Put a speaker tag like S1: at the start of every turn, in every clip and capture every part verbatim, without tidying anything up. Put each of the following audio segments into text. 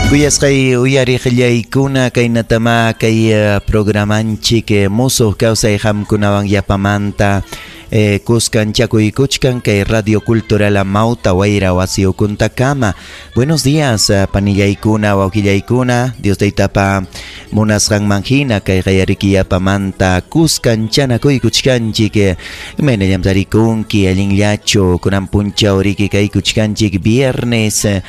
S1: Kuyasqay uyariqllaykuna kaynatama kay programanchik musuq kawsay qamkunawan yapamanta eh, kuskanchakuykuchkan kay Radio Cultural Amauta Wayra Wasiukuntakama. Buenos días panillaykuna wawqillaykuna, Dios taytapa munasqanman hina kay qayariki yapamanta kuskanchanakuykuchkanchik. Imaynallam tarikunki allinllachu kunan punchaw riki kaykuchkanchik viernes eh,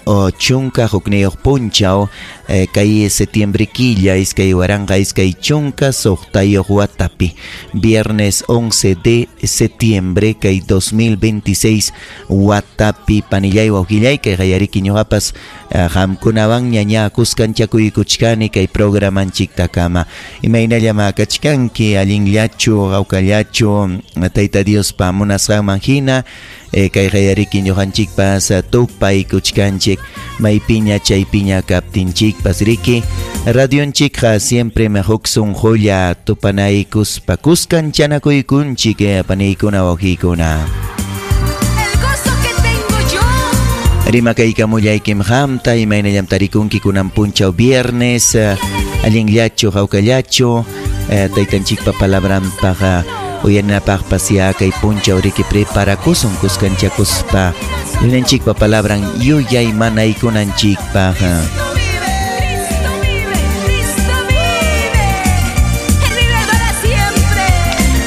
S1: o chunka hukniyuq punchaw eh, kay septiembre killa iskay waranqa iskay chunka suqtayuq watapi viernes once de septiembre kay dos mil veintiséis watapi panillay wawqillay kay qayariki ñuqapas qamkunawan ñaña kuskanchakuykuchkani kay programanchiktakama. Imaynallam kachkanki allinllachu hawkallachu Tayta Diospa munasqanman hina eh, kay qayariki ñuqanchikpas tupaykuchkanchik maypiña chaypiña kaptinchikpas riki radionchikqa siempre huk sunqulla tupanaykuspa kuskanchanakuykunchik paniykuna wawqiykuna. Rimakaykamullaykim qamta imaynallam tarikunki kunan punchaw viernes allinllachu hawkallachu taytanchikpa palabranpaq uyarinapaqpas ya kay punchaw riki preparakusun kuskanchakuspa yunanchikpa palabran yuyay manaykunanchikpaq.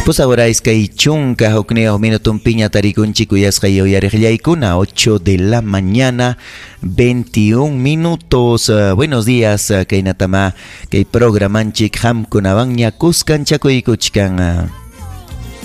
S1: Pues ahora es que chunka hukniyuq minutunpiña tarikunchik kuyasqay uyariqllaykuna ocho de la mañana veintiún minutos. Uh, buenos días uh, kaynatama kay programanchik qamkunawanña kuskanchakuykuchkan.